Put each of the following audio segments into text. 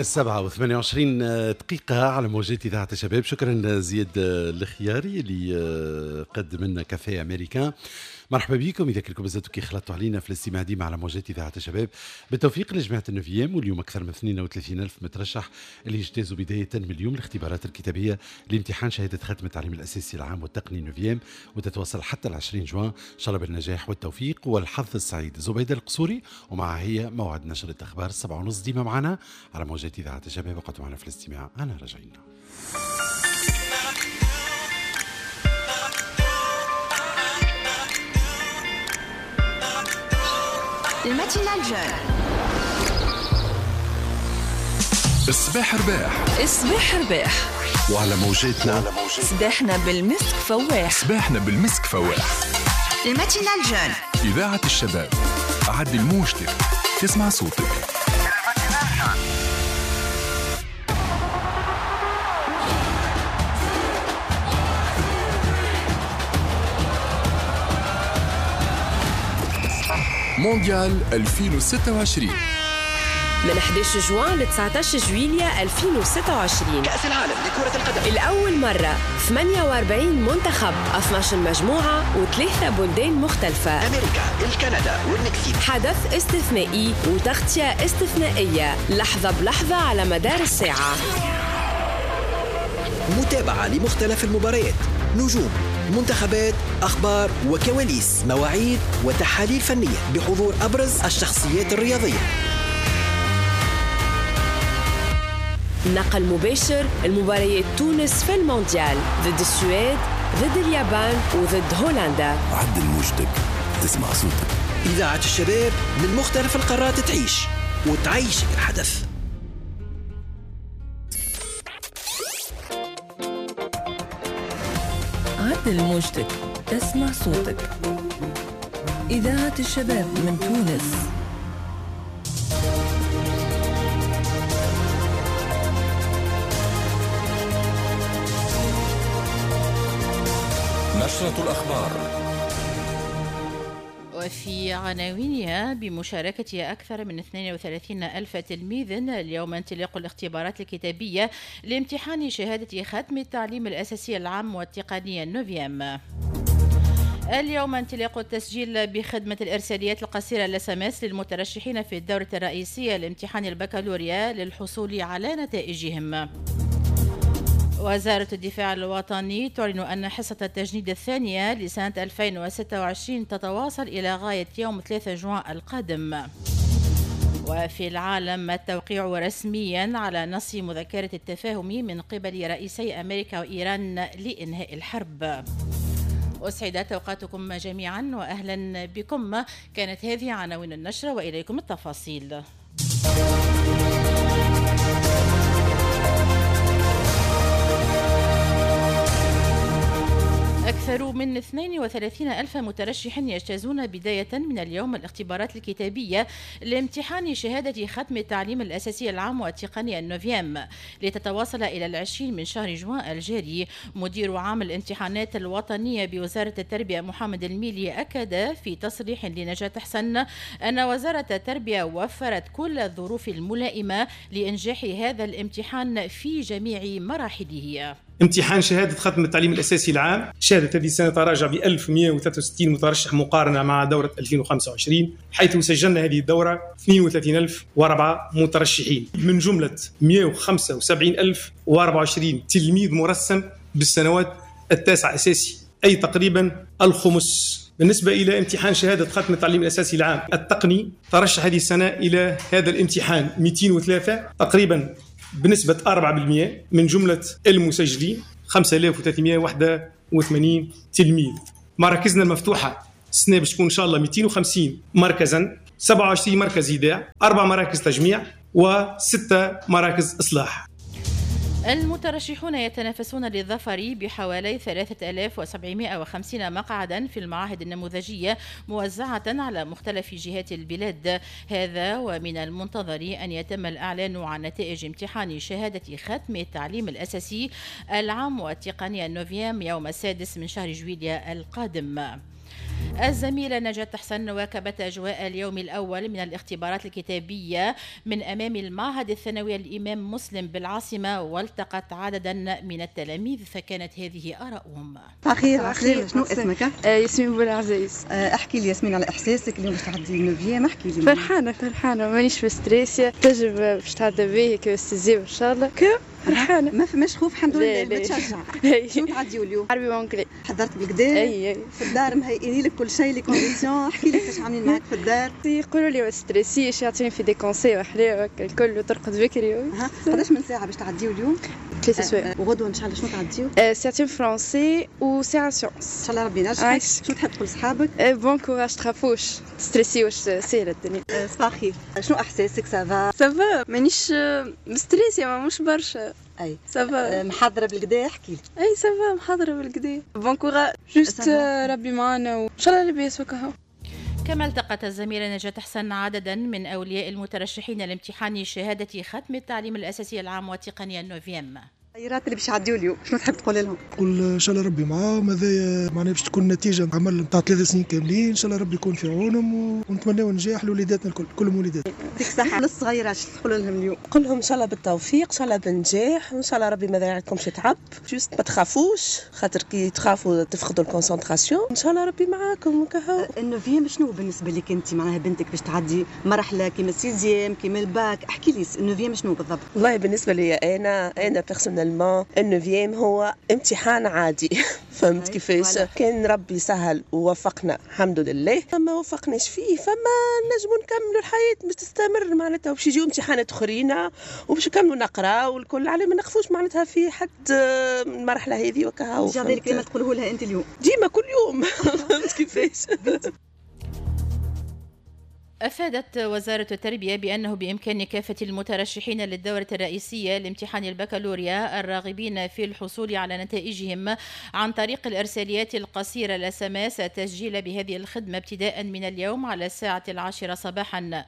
7:28 على موجات إذاعة الشباب. شكرا زياد الخياري اللي قدم لنا café américain. مرحبا بكم إذا كنتم مازلتوا كي خلطتوا علينا في الاستماع ديما على موجات إذاعة الشباب. بالتوفيق لجماعة ال neuvième، واليوم أكثر من 32 ألف مترشح اللي اجتازوا بداية من اليوم الاختبارات الكتابية لامتحان شهادة ختم التعليم الأساسي العام والتقني neuvième، وتتواصل حتى 20 جوان. إن شاء الله بالنجاح والتوفيق والحظ السعيد. زبيدة القصوري ومع هي موعد نشرة أخبار 7:30 ديما معنا على موجات إذاعة الشباب. وقعدوا معنا في الاستماع، أنا راجعين. ال matinale jeune. الصباح رباح. الصباح رباح. وعلى موجاتنا صباحنا بالمسك فواح. صباحنا بالمسك فواح. ال matinale jeune. إذاعة الشباب، عدل موجتك تسمع صوتك. مونديال 2026 من 11 جوان ل 19 جويلية 2026. كأس العالم لكرة القدم لأول مرة 48 منتخب، 12 مجموعة و3 بلدان مختلفة، أمريكا، الكندا والمكسيك. حدث استثنائي وتغطية استثنائية، لحظة بلحظة على مدار الساعة. متابعة لمختلف المباريات، نجوم، منتخبات، أخبار وكواليس، مواعيد وتحاليل فنية بحضور أبرز الشخصيات الرياضية. نقل مباشر المباريات تونس في المونديال ضد السويد، ضد اليابان وضد هولندا. عدل موجتك تسمع صوتك. إذاعة الشباب من مختلف القارات تعيش وتعيشك الحدث. عدل موجتك تسمع صوتك. إذاعة الشباب من تونس. نشرة الأخبار. وفي عناوينها بمشاركة أكثر من 32 ألف تلميذ اليوم انطلاق الاختبارات الكتابية لامتحان شهادة ختم التعليم الأساسي العام والتقني ال neuvième. اليوم انطلاق التسجيل بخدمة الإرساليات القصيرة ال SMS للمترشحين في الدورة الرئيسية لامتحان البكالوريا للحصول على نتائجهم. وزارة الدفاع الوطني تعلن أن حصة التجنيد الثانية لسنة 2026 تتواصل إلى غاية يوم 3 جوان القادم. وفي العالم التوقيع رسميا على نص مذكرة التفاهم من قبل رئيسي أمريكا وإيران لإنهاء الحرب. أسعدت أوقاتكم جميعا وأهلا بكم. كانت هذه عناوين النشرة وإليكم التفاصيل. أكثر من 32 ألف مترشح يجتازون بداية من اليوم الاختبارات الكتابية لامتحان شهادة ختم التعليم الأساسي العام والتقني ال neuvième لتتواصل إلى 20 من شهر جوان الجاري. مدير عام الامتحانات الوطنية بوزارة التربية محمد الميلي أكد في تصريح لنجاة حسن أن وزارة التربية وفرت كل الظروف الملائمة لإنجاح هذا الامتحان في جميع مراحله. امتحان شهادة ختم التعليم الأساسي العام شهدت هذه السنة تراجع ب 1163 مترشح مقارنة مع دورة 2025، حيث سجلنا هذه الدورة 32004 مترشحين، من جملة 175024 تلميذ مرسم بالسنوات التاسعة أساسي، أي تقريبا الخمس. بالنسبة إلى امتحان شهادة ختم التعليم الأساسي العام التقني، ترشح هذه السنة إلى هذا الامتحان 203 تقريبا بنسبة 4%، من جملة المسجلين 5381 تلميذ. مراكزنا المفتوحة السنة باش تكون إن شاء الله 250 مركزا، 27 مركز إيداع، 4 مراكز تجميع، و6 مراكز إصلاح. المترشحون يتنافسون للظفر بحوالي 3750 مقعدا في المعاهد النموذجية موزعة على مختلف جهات البلاد. هذا ومن المنتظر أن يتم الإعلان عن نتائج امتحان شهادة ختم التعليم الأساسي العام والتقنية ال neuvième يوم 6 من شهر جويلية القادم. الزميلة نجاة حسن واكبت أجواء اليوم الأول من الاختبارات الكتابية من أمام المعهد الثانوي الإمام مسلم بالعاصمة، والتقت عددا من التلاميذ فكانت هذه آراؤهم. أخير أخير، شنو اسمك؟ ياسمين بولعزيز. احكي لي ياسمين على إحساسك اليوم باش تعدي neuvième، احكي لي. فرحانة فرحانة، مانيش في stress، تجربة باش تعدى بيه كي sixième إن شاء الله. فرحانة، ما فماش خوف الحمد لله. بتشجع. شنو تعديو اليوم؟ عربي و anglais. حضرت بالكدا؟ اي في الدار مهيئين لك كل شيء، les conditions، احكي لي كيفاش عاملين معاك في الدار؟ يقولوا لي ما تستريسيش، يعطيني في des conseils وحلاوة الكل، وترقد بكري. قداش من ساعة باش تعديو اليوم؟ 3 سوايع. وغدوة إن شاء الله شنو تعديو؟ ساعتين français وساعة sciences. إن شاء الله ربي ينجحك. شنو تحب تقول لصحابك؟ bon courage، تخافوش تستريسيوش، ساهلة الدنيا. صباح الخير، شنو احساسك؟ ça va؟ ça va، مانيش مستريسية، مش برشا. اي ça va. محضرة بالكدا؟ احكي لي. اي ça va، محضرة بالكدا. bon courage، juste ربي معانا وان شاء الله لاباس وكهو. كما التقت الزميلة نجاة حسن عددا من أولياء المترشحين لامتحان شهادة ختم التعليم الأساسي العام والتقنية ال neuvième. الخيرات اللي باش يعديو اليوم، شنو تحب تقول لهم؟ نقول ان شاء الله ربي معاهم، هذايا معناها باش تكون نتيجة عمل نتاع 3 سنين كاملين، ان شاء الله ربي يكون في عونهم ونتمناو نجاح لوليداتنا الكل، كلهم وليدات. يعطيك الصحة. للصغيرات شنو تقول لهم اليوم؟ نقول لهم ان شاء الله بالتوفيق، ان شاء الله بالنجاح، وان شاء الله ربي ما يضيع تعب، juste ما تخافوش، خاطر كي تخافوا تفقدوا ال concentration، ان شاء الله ربي معاكم وكهو. ال neuvième شنو بالنسبة لك انت؟ معناها بنتك باش تعدي مرحلة كيما ال sixième كيما الباك، احكي لي ال neuvième شنو بالضبط؟ والله بالنسبة لي انا personnellement ال neuvième هو امتحان عادي. فهمت كيفاش؟ كان ربي سهل ووفقنا الحمد لله، ما وفقناش فيه فما نجموا نكملوا الحياة باش تستمر معناتها، وباش يجيو امتحانات اخرين وباش نكملوا نقراو والكل، على ما نقفوش معناتها في حد المرحلة هذه وكهو. هذا الكلمة تقوله لها انت اليوم؟ ديما كل يوم. فهمت كيفاش؟ أفادت وزارة التربية بأنه بإمكان كافة المترشحين للدورة الرئيسية لامتحان البكالوريا الراغبين في الحصول على نتائجهم عن طريق الإرساليات القصيرة ال SMS التسجيل بهذه الخدمة ابتداء من اليوم على الساعة 10 صباحا.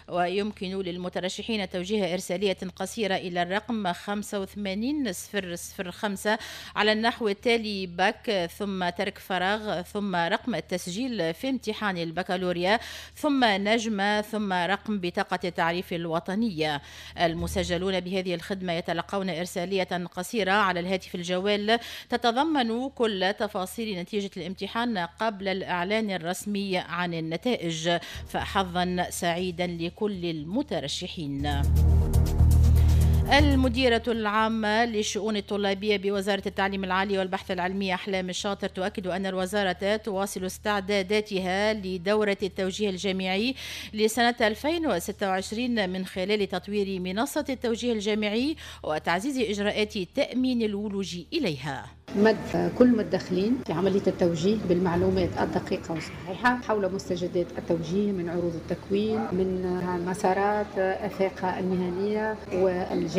ويمكن للمترشحين توجيه إرسالية قصيرة إلى الرقم 85005 على النحو التالي: باك ثم ترك فراغ ثم رقم التسجيل في امتحان البكالوريا ثم نجمة ثم رقم بطاقة التعريف الوطنية. المسجلون بهذه الخدمة يتلقون إرسالية قصيرة على الهاتف الجوال تتضمن كل تفاصيل نتيجة الامتحان قبل الإعلان الرسمي عن النتائج. فحظا سعيدا لكل المترشحين. المديرة العامة للشؤون الطلابية بوزارة التعليم العالي والبحث العلمي أحلام الشاطر تؤكد أن الوزارة تواصل استعداداتها لدورة التوجيه الجامعي لسنة 2026 من خلال تطوير منصة التوجيه الجامعي وتعزيز إجراءات تأمين الولوج إليها. مد كل المتدخلين في عملية التوجيه بالمعلومات الدقيقة والصحيحة حول مستجدات التوجيه من عروض التكوين، من مسارات آفاقها المهنية والجامعية.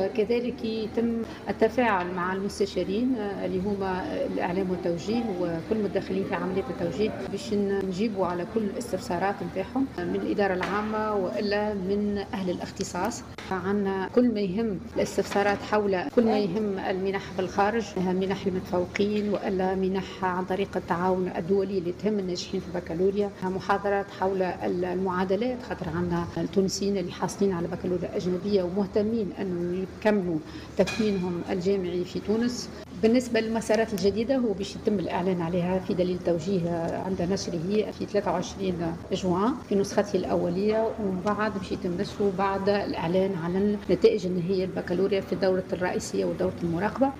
كذلك يتم التفاعل مع المستشارين اللي هما الإعلام والتوجيه وكل المتدخلين في عملية التوجيه باش نجيبوا على كل الاستفسارات نتاعهم من الإدارة العامة وإلا من أهل الاختصاص. عندنا كل ما يهم الاستفسارات حول كل ما يهم المنح بالخارج، منح المتفوقين والا منح عن طريق التعاون الدولي اللي تهم الناجحين في البكالوريا، محاضرات حول المعادلات خاطر عندنا التونسيين اللي حاصلين على بكالوريا اجنبية ومهتمين انه يكملوا تكوينهم الجامعي في تونس. بالنسبة للمسارات الجديدة هو باش يتم الإعلان عليها في دليل توجيه عند نشره في 23 جوان في نسخته الأولية، ومن بعد باش يتم نشره بعد الإعلان على النتائج النهائية البكالوريا في الدورة الرئيسية ودورة المراقبة.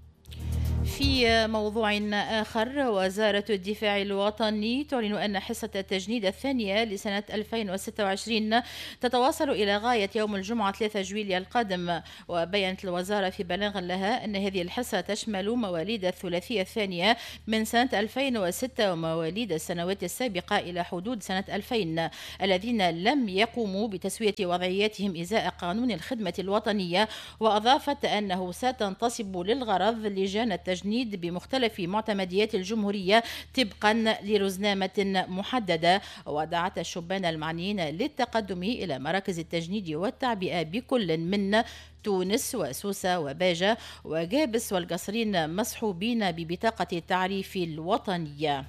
في موضوع آخر، وزارة الدفاع الوطني تعلن أن حصة التجنيد الثانية لسنة 2026 تتواصل إلى غاية يوم الجمعة 3 جويلية القادم. وبينت الوزارة في بلاغ لها أن هذه الحصة تشمل مواليد الثلاثية الثانية من سنة 2006 ومواليد السنوات السابقة إلى حدود سنة 2000 الذين لم يقوموا بتسوية وضعياتهم إزاء قانون الخدمة الوطنية. وأضافت أنه ستنتصب للغرض لجان التجنيد بمختلف معتمديات الجمهورية طبقا لرزنامة محددة. ودعت الشبان المعنيين للتقدم إلى مراكز التجنيد والتعبئة بكل من تونس وسوسة وباجة وجابس والقصرين مصحوبين ببطاقة التعريف الوطنية.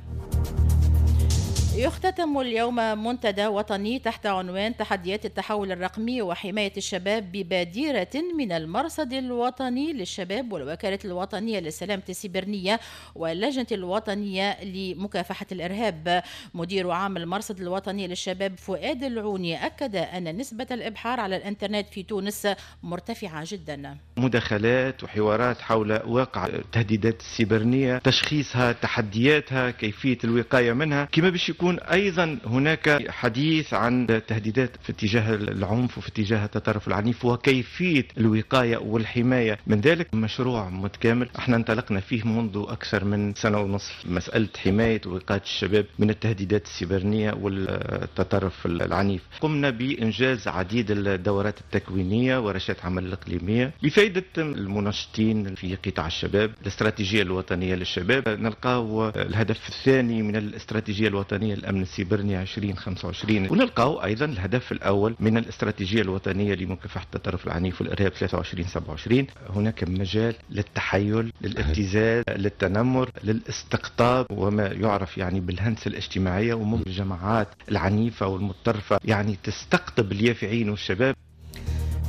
يختتم اليوم منتدى وطني تحت عنوان تحديات التحول الرقمي وحماية الشباب ببادرة من المرصد الوطني للشباب والوكالة الوطنية للسلامة السيبرنية واللجنة الوطنية لمكافحة الإرهاب. مدير عام المرصد الوطني للشباب فؤاد العوني أكد أن نسبة الإبحار على الإنترنت في تونس مرتفعة جدا. مداخلات وحوارات حول واقع التهديدات السيبرنية، تشخيصها، تحدياتها، كيفية الوقاية منها، كما باش يكون أيضا هناك حديث عن تهديدات في اتجاه العنف وفي اتجاه التطرف العنيف وكيفية الوقاية والحماية من ذلك. مشروع متكامل احنا انطلقنا فيه منذ أكثر من 1.5 سنة، مسألة حماية ووقاية الشباب من التهديدات السيبرنية والتطرف العنيف. قمنا بإنجاز عديد الدورات التكوينية ورشات عمل الإقليمية لفائدة المنشطين في قطاع الشباب. الاستراتيجية الوطنية للشباب نلقاو الهدف الثاني من الاستراتيجية الوطنية الأمن السيبرني 2025، ونلقاو أيضا الهدف الأول من الاستراتيجية الوطنية لمكافحة التطرف العنيف والإرهاب 23-27. هناك مجال للتحيل، للابتزاز، للتنمر، للاستقطاب وما يعرف يعني بالهندسة الاجتماعية، وممكن الجماعات العنيفة والمتطرفة يعني تستقطب اليافعين والشباب.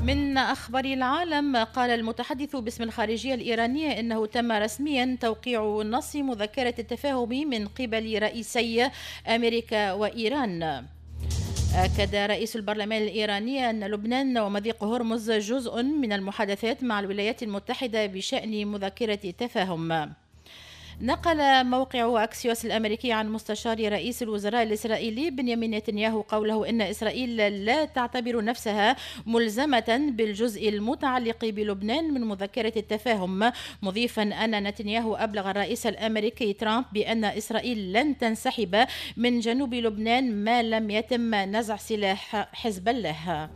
من أخبار العالم، قال المتحدث باسم الخارجية الإيرانية إنه تم رسميا توقيع نص مذكرة التفاهم من قبل رئيسي أمريكا وإيران. أكد رئيس البرلمان الإيراني أن لبنان ومضيق هرمز جزء من المحادثات مع الولايات المتحدة بشأن مذكرة تفاهم. نقل موقع أكسيوس الأمريكي عن مستشار رئيس الوزراء الإسرائيلي بنيامين نتنياهو قوله إن إسرائيل لا تعتبر نفسها ملزمة بالجزء المتعلق بلبنان من مذكرة التفاهم، مضيفا أن نتنياهو أبلغ الرئيس الأمريكي ترامب بأن إسرائيل لن تنسحب من جنوب لبنان ما لم يتم نزع سلاح حزب الله.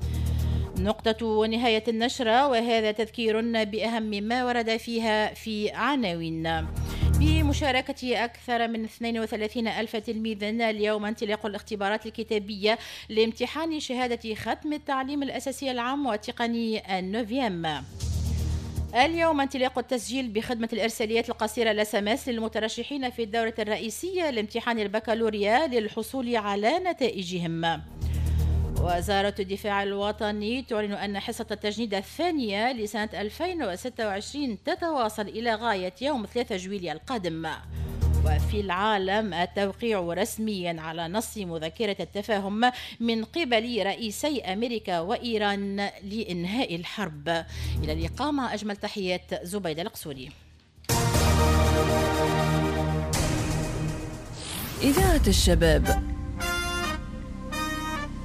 نقطة نهاية النشرة، وهذا تذكير بأهم ما ورد فيها في عناوين. بمشاركة أكثر من 32 ألف تلميذ اليوم انطلاق الاختبارات الكتابية لامتحان شهادة ختم التعليم الأساسي العام والتقني ال neuvième. اليوم انطلاق التسجيل بخدمة الإرساليات القصيرة ال SMS للمترشحين في الدورة الرئيسية لامتحان البكالوريا للحصول على نتائجهم. وزارة الدفاع الوطني تعلن أن حصة التجنيد الثانية لسنة 2026 تتواصل إلى غاية يوم 3 جويلية القادم. وفي العالم، التوقيع رسميا على نص مذكرة التفاهم من قبل رئيسي أمريكا وإيران لإنهاء الحرب. إلى اللقاء مع أجمل تحيات زبيدة القصوري. إذاعة الشباب،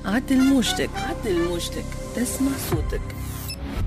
عدل موجتك، عدل موجتك، تسمع صوتك.